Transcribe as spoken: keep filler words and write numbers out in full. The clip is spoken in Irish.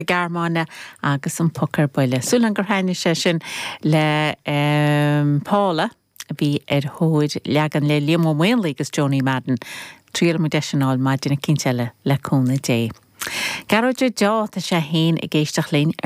Gearmáine agus an Poc ar Buile. Súil gur thaitnigh sé sin le um, Paula a bhí ar thóir leagan le Liam Ó Maonlaí agus Johnny Madden. Triail de sin maidin eicínt eile le cúnamh Dé. Gearóid Deá tá sé féin ag éisteacht linn ar